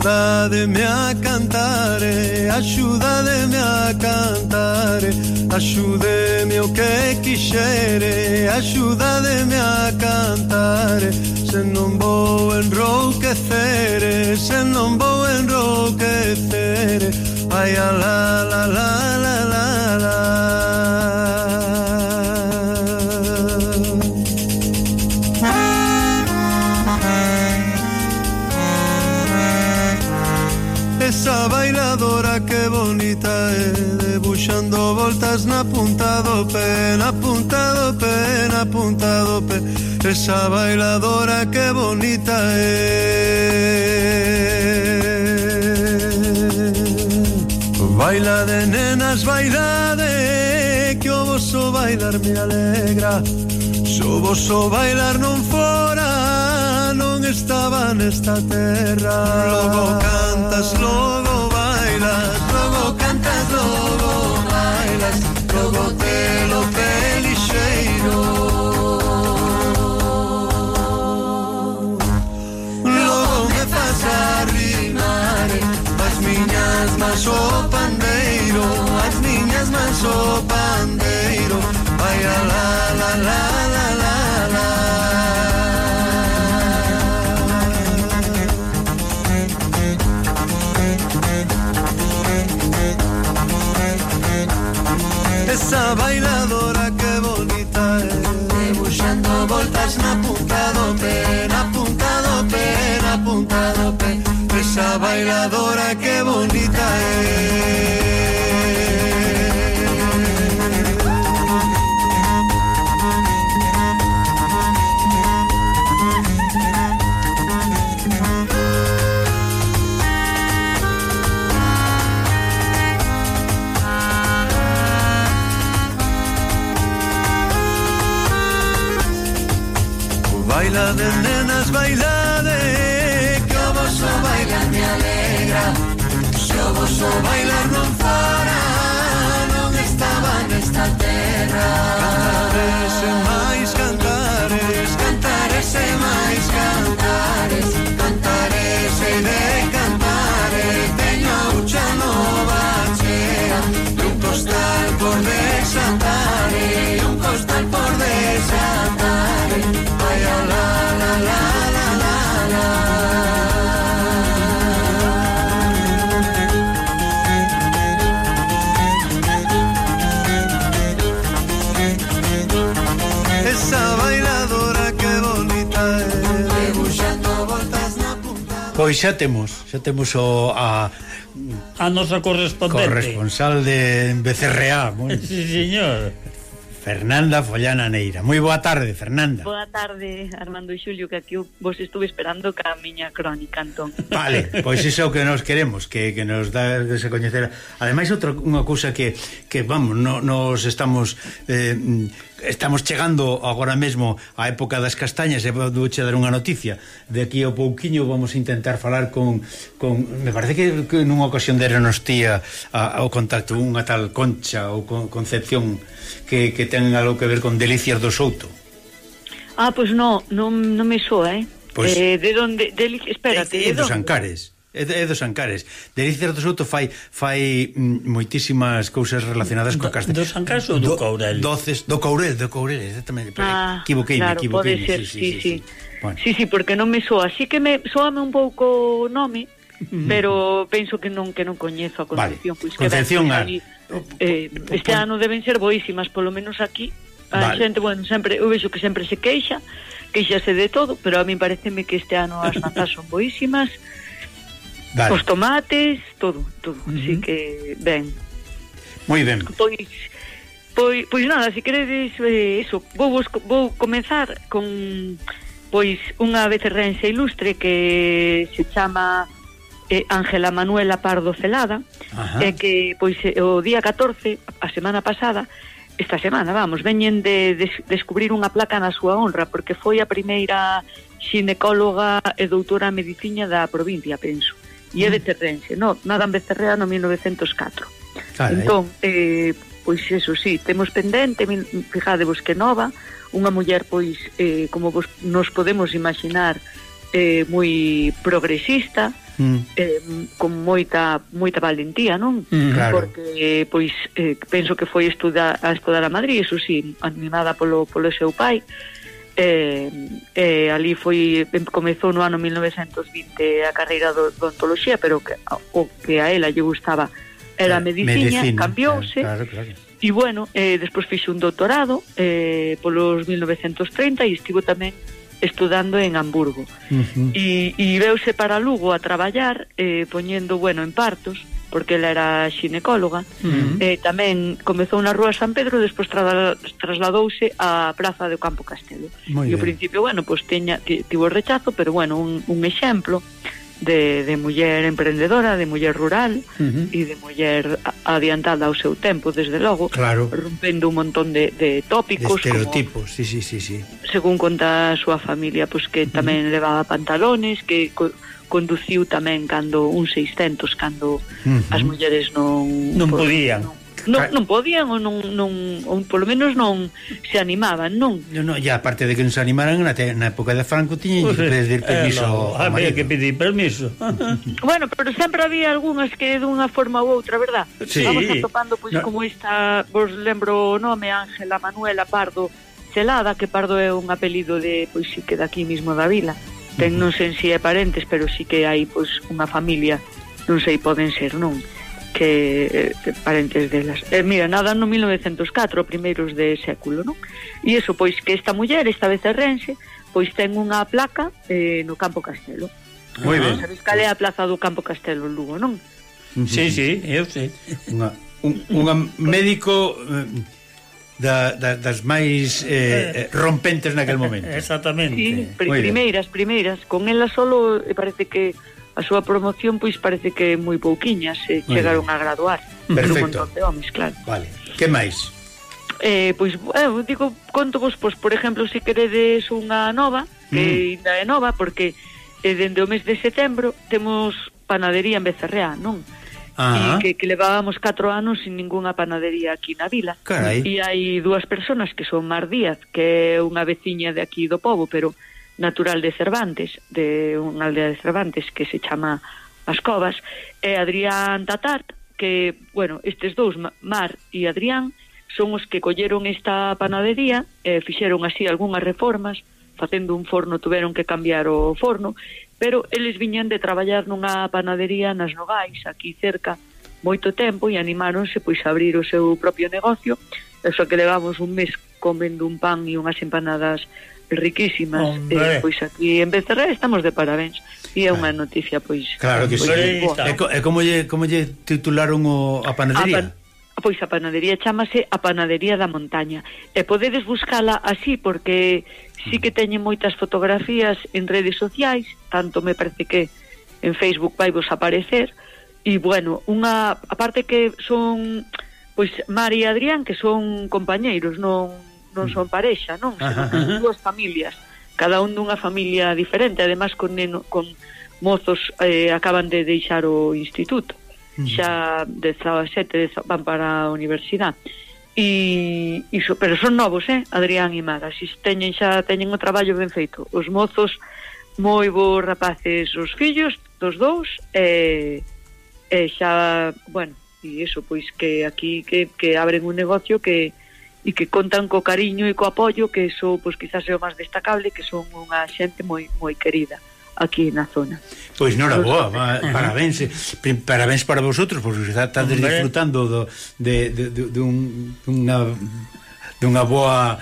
axudademe a cantare, axudademe a cantare, axudeme o que quixere, axudademe a cantare, se non vou enrouquecere, se non vou enrouquecere, ai a la la la la la la. Esa bailadora que bonita é, debuxando voltas na punta do pé, na punta do pé, na punta do pé. Esa bailadora que bonita é. Baila de nenas, baila de, que o vosso bailar me alegra. Se o vosso bailar non fora, non estaba nesta terra. Logo cantas, logo bailas, logo cantas, logo bailas, logo telo pelixeiro. Logo me faz arrimar as miñas mans o pandeiro, as miñas mans o pandeiro. Ai a la la la la la la. Esa bailadora que bonita é, debuxando voltas na punta do pé, na punta do pé, na punta do pé. Esa bailadora que bonita é. Baila de nenas, baila de, que o vosso bailar me alegra. Se o vosso bailar non fora, non estaba nesta terra. Cantares e máis cantares, cantares e máis cantares, cantares e de cantares. Teño a ucha nova chea, e un costal por desatar, e un costal por desatar. Ay, la la la la la la. Esa bailadora que bonita é, debuxando voltas na punta. Pois xa temos a nosa corresponsal de Becerreá. Sí, señor. Fernanda Follana Neira. Moi boa tarde, Fernanda. Boa tarde, Armando e Xulio, que aquí vos estuve esperando ca miña crónica, entón. Vale, pois iso é o que nos queremos, que nos dá de se coñecer. Ademais, unha cousa que vamos, nos estamos chegando agora mesmo á época das castañas, e vou che dar unha noticia. De aquí ao pouquiño vamos a intentar falar con me parece que nunha ocasión derenos tía ao contacto unha tal Concha ou Concepción que ten algo que ver con Delicias do Souto. Pois non me soa, Pois, de onde? Espérate, é dos Ancares. É dos Ancares. Delicias do Souto fai moitísimas cousas relacionadas coa castaña. Dos Ancares ou do Courel? Do Courel, exactamente. Equivoqueime. Pode ser, sí. Bueno. Sí, porque non me soa. Así que soame un pouco o nome, pero penso que non coñezo a Concepción. Vale. Concepción, este ano deben ser boísimas, polo menos aquí. A xente, sempre, eu vexo que sempre se queixase de todo, pero a mí pareceme que este ano as mazás son boísimas. Vale. Os tomates, todo. Así que, ben. Moi ben. Pois nada, se queredes eso, vou comenzar con unha becerrense ilustre que se chama Ángela Manuela Pardo Celada, que o día 14, a semana pasada, esta semana, veñen de descubrir unha placa na súa honra, porque foi a primeira xinecóloga e doutora en medicina da provincia, penso. E é becerrense, nada en Becerrea no 1904. Entón, pois eso, sí, temos pendente, fijadevos que nova, unha muller, como nos podemos imaginar, moi progresista, con moita valentía, non? Claro. Porque pois penso que foi a estudar a Madrid, eso sí, animada polo seu pai. Ali comezou no ano 1920 a carreira de odontoloxía, pero o que a ela lle gustaba era a medicina, cambiouse. Claro. E bueno, despois fixo un doutorado polos 1930 e estivo tamén estudando en Hamburgo. E veuse para Lugo a traballar poñendo, en partos, porque ela era xinecóloga. Tamén comezou na Rúa San Pedro, despois trasladouse á Praza do Campo Castelo. E ao principio, tivo rechazo, pero un exemplo de muller emprendedora, de muller rural e de muller adiantada ao seu tempo, desde logo, rompendo un montón de tópicos, de estereotipos, sí. Según conta a súa familia, pois que tamén levaba pantalones, que conduciu tamén cando un 600, cando as mulleres non podían. Non podían ou polo menos non se animaban, non? E aparte de que non se animaran na época de Franco tiñen que pedir permiso ao marido. Había que pedir permiso. Pero sempre había algunhas que dunha forma ou outra, verdad? Sí. Vamos atopando como esta, vos lembro o nome, Ángela Manuela Pardo Celada, que Pardo é un apelido de, sí que daqui mismo da vila. Non sei se é parentes, pero sí que hai unha familia, non sei, poden ser, non? Que parentes delas. Mira, nada no 1904, primeiros de século, non? E iso, que esta muller, esta becerrense, ten unha placa no Campo Castelo. Moi ben. Sabes cal é a plaza do Campo Castelo en Lugo, non? Sí, eu sei. Unha médico das máis rompentes naquel momento. Exactamente. Sí, primeiras. Con ela solo parece que a súa promoción parece que moi pouquiñas chegaron a graduar. Perfecto. Un montón de homes, claro. Vale. Que máis? Conto vos, por exemplo, se queredes unha nova, que ainda é nova, porque dende o mes de setembro temos panadería en Becerreá, non? E que levábamos 4 anos sin ningunha panadería aquí na vila. Carai. E hai dúas persoas que son Mar Díaz, que é unha veciña de aquí do pobo, pero natural de Cervantes, de unha aldea de Cervantes que se chama As Covas, e Adrián Tatart, que, estes dous, Mar e Adrián, son os que colleron esta panadería, fixeron así algunhas reformas, facendo un forno tuveron que cambiar o forno, pero eles viñan de traballar nunha panadería nas Nogais, aquí cerca, moito tempo, e animáronse a abrir o seu propio negocio. Eso que levamos un mes comendo un pan e unhas empanadas riquísimas. Aquí en Becerra estamos de parabéns, e é unha noticia claro que sí. E como lle titularon a panadería? A panadería chamase a Panadería da Montaña, e podedes buscala así porque sí que teñen moitas fotografías en redes sociais, tanto me parece que en Facebook vai vos aparecer. E aparte que son Mar e Adrián, que son compañeiros, non son parexa, non? Son dúas familias, cada un dunha familia diferente, además con mozos acaban de deixar o instituto, xa 17 van para a universidade, pero son novos, Adrián e Mar, así teñen o traballo ben feito, os mozos moi bons rapaces, os fillos dos dous, e xa, e iso, que aquí que abren un negocio que contan co cariño e co apoio, que iso, quizás é o máis destacable, que son unha xente moi moi querida aquí na zona. Pois noraboa, parabéns para vosotros, porque estades disfrutando dunha boa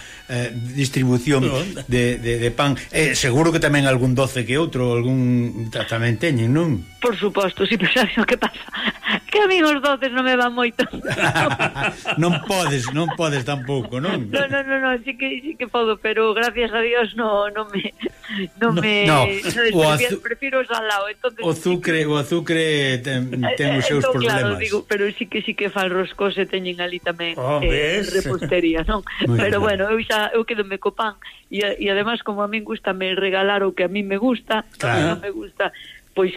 distribución de pan. Seguro que tamén algún doce que outro, algún tamén teñen, non? Por suposto, si, pero sabes o que pasa? Que a mí os doces non me van moito. non podes tampouco, non? No, sí que podo, pero gracias a Dios non me prefiro o salado. O azucre ten os seus problemas. Claro, pero sí que fan roscos e teñen ali tamén repostería, non? Pero eu quedome co pan e además, como a min gusta me regalar o que a min me gusta, non me gusta,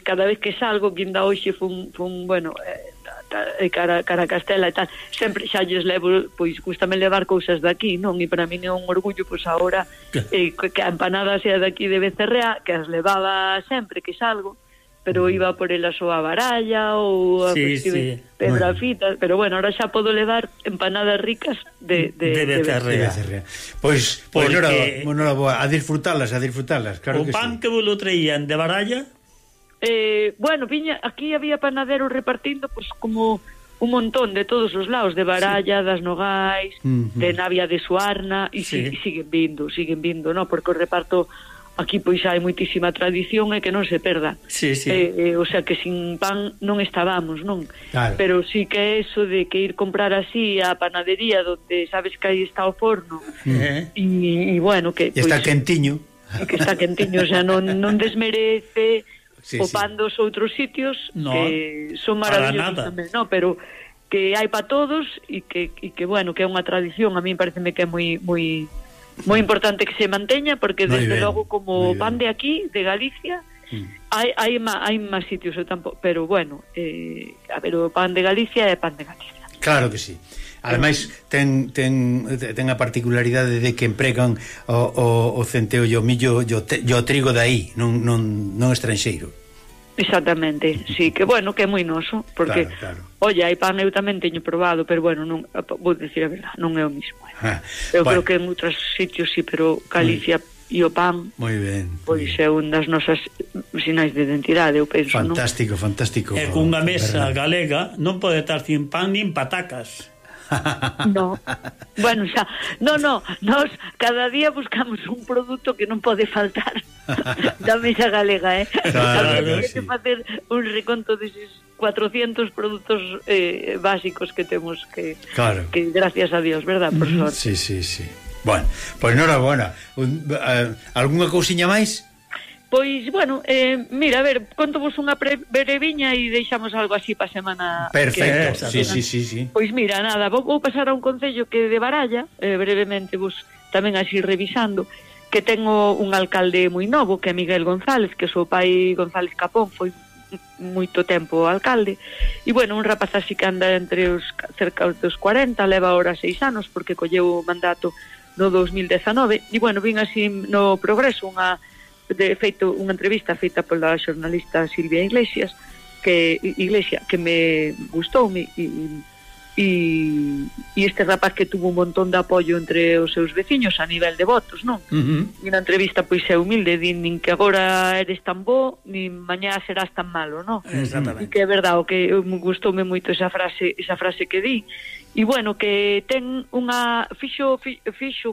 cada vez que salgo, que ainda hoxe fun cara a Castela e tal, sempre xa lles levo, gustame levar cousas daqui, non? E para min é un orgullo, agora que a empanada sea daqui de Becerrea, que as levaba sempre que salgo, pero iba por el a súa baralla ou a pedrafitas, pero bueno, ahora xa podo levar empanadas ricas de becerrea. Pois a disfrutalas, claro que sí. O pan que vos lo traían de baralla? Bueno, aquí había panaderos repartindo pues como un montón de todos os lados, de Baralla, das Nogais, de Navia de Suarna, e siguen vindo, no? Porque o reparto aquí pois hai moitísima tradición e que non se perda. O sea que sin pan non estábamos, non? Claro. Pero sí que eso de que ir comprar así a panadería donde sabes que aí está o forno e bueno, que e está quentiño. Que está quentiño, o sea, non desmerece o pan dos outros sitios, que son maravillosos tamén, no? Pero que hai para todos e que bueno, que é unha tradición, a mí pareceme que é moi importante que se manteña, porque desde logo como pan de aquí, de Galicia, hai máis sitios, pero bueno, a ver, o pan de Galicia é pan de Galicia. Claro que sí. Ademais ten a particularidade de que empregan o centeo e o millo e o trigo de aí, non estranxeiro. Exactamente, sí, que bueno, que é moi noso, porque oye, hai pan eu tamén teño probado, pero bueno, non vou dicir a verdade, non é o mismo. Eu creo que en outros sitios sí, pero Galicia e o pan, moi ben, pois é un das nosas sinais de identidade, eu penso, fantástico, non? Fantástico. E cunha mesa galega non pode estar sin pan nin patacas. No, bueno, xa, no, nós cada día buscamos un produto que non pode faltar da mesa galega, Claro, hai que facer un reconto deses 400 produtos básicos que temos que gracias a Dios, verdad, por sorte. Sí. Bueno, pois enhorabuena. Algunha cousiña máis? Pois, bueno, mira, a ver, contovos unha breviña e deixamos algo así para semana. Perfecto, sí. Pois mira, nada, vou pasar a un concello que de Baralla, brevemente vos tamén así revisando, que tengo un alcalde moi novo, que é Miguel González, que o seu pai González Capón foi moito tempo alcalde, e bueno, un rapaz así que anda entre os cerca dos 40, leva ahora 6 anos, porque colleu o mandato no 2019, e bueno, vin así no Progreso unha entrevista feita pola xornalista Silvia Iglesias que me gustoume e este rapaz que tuvo un montón de apoio entre os seus veciños a nivel de votos, non? E na entrevista pois é humilde, din nin que agora eres tan bo nin mañá serás tan malo, non? Exactamente. E que é verdade, o que gustoume moito esa frase que di. E bueno, que ten unha fixo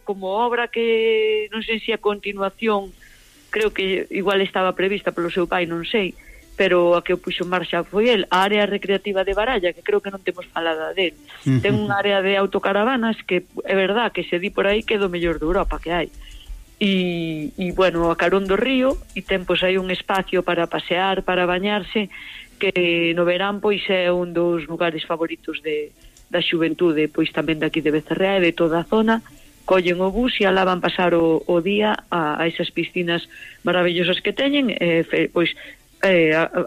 como obra que non sei se a continuación, creo que igual estaba prevista polo seu pai, non sei, pero a que o puxo en marcha foi el, a área recreativa de Baralla, que creo que non temos falada del. Ten unha área de autocaravanas que é verdad que se di por aí que é do mellor de Europa que hai. E bueno, a carón do río, e ten pois aí un espacio para pasear, para bañarse, que no verán pois é un dos lugares favoritos da xuventude, pois tamén daqui de Becerrea e de toda a zona. Collen o bus e alá van pasar o día a esas piscinas maravillosas que teñen, pois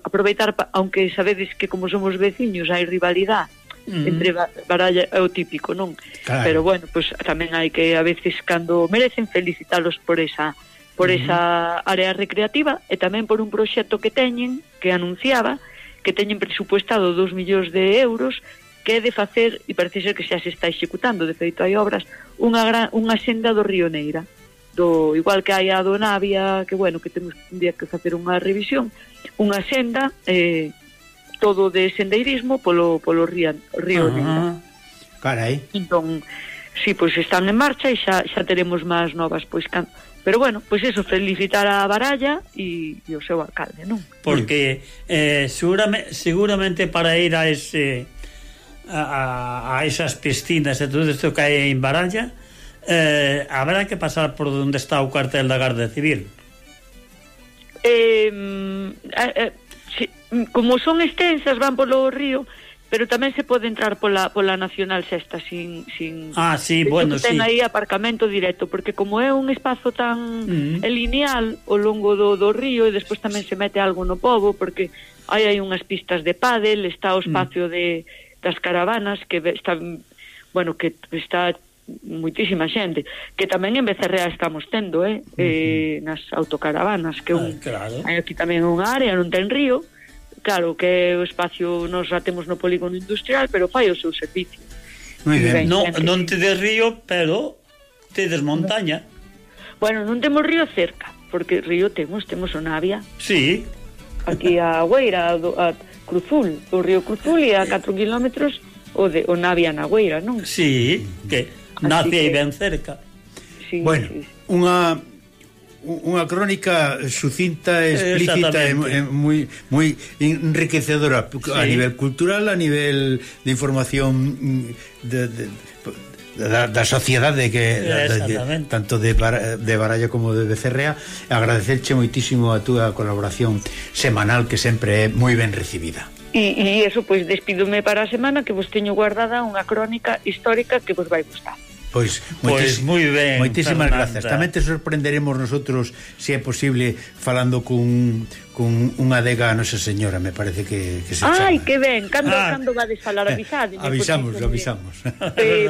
aproveitar, aunque sabedes que como somos veciños hai rivalidade entre Baralla, é o típico, non? Claro. Pero bueno, pois tamén hai que a veces cando merecen felicitalos por esa área recreativa e tamén por un proxecto que teñen, que anunciaba que teñen presupuestado 2 millóns de euros que é de facer, e parece ser que xa se está executando, de feito hai obras, unha senda do Río Neira, igual que hai a do Navia, que bueno, que temos un día que facer unha revisión, unha senda todo de sendeirismo polo Río Neira. Carai. Entón, sí, pois están en marcha e xa teremos máis novas, pois pero bueno, pois eso, felicitar a Baralla e o seu alcalde, non? Porque seguramente para ir a ese a esas piscinas e todo isto que hai en Baralla, habrá que pasar por onde está o cuartel da Garda Civil. Como son extensas, van polo río, pero tamén se pode entrar pola Nacional Sexta sin sí, bueno, ten sí. aí aparcamento directo, porque como é un espazo tan lineal ao longo do río, e despois tamén se mete algo no pobo, porque hai unhas pistas de pádel, está o espacio das caravanas que están, bueno, que está moitísima xente, que tamén en Becerrea estamos tendo, nas autocaravanas, que claro. Hai aquí tamén unha área, non ten río, claro, que o espacio nos já temos no polígono industrial, pero fai o seu servicio. Moi ben. Non tedes río, pero tedes montaña. Bueno, non temos río cerca, porque río temos o Navia. Sí. Aquí a Agüeira, a Cruzul, o río Cruzul, e a 4 kilómetros o Navia na Agüeira, non? Sí, que nace aí ben cerca. Sí, Bueno, sí. unha crónica sucinta, explícita e moi enriquecedora a nivel cultural, a nivel de información da sociedade tanto de Baralla como de Becerrea. Agradecerche moitísimo a túa colaboración semanal, que sempre é moi ben recibida. E eso, pois despídome para a semana, que vos teño guardada unha crónica histórica que vos vai gustar. Pois moi ben, moitísimas Fernanda. grazas. Tamén te sorprenderemos nosotros, se é posible, falando cun unha adega a Nosa Señora, me parece que se chama. Ai, que ben, cando vades falar, avisade. Avisamos.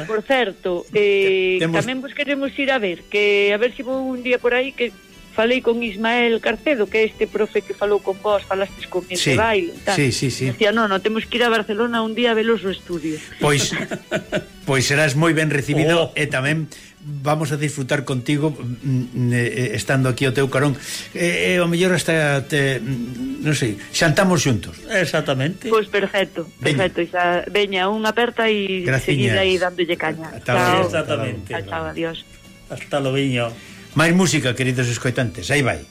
Por certo, tamén vos queremos ir a ver se vou un día por aí, que falei con Ismael Carcedo, que é este profe que falou con vos, falastes con ese baile e tal. Sí. Decía, non, temos que ir a Barcelona un día a velos no estudio. Pois serás moi ben recibido, e tamén vamos a disfrutar contigo estando aquí ao teu carón, o mellor hasta non sei, xantamos xuntos. Exactamente. Pois perfecto. Veña, unha aperta e seguida aí dándolle caña. Exactamente. Chao, adiós. Hasta lo viño. Máis música, queridos escoitantes, aí vai.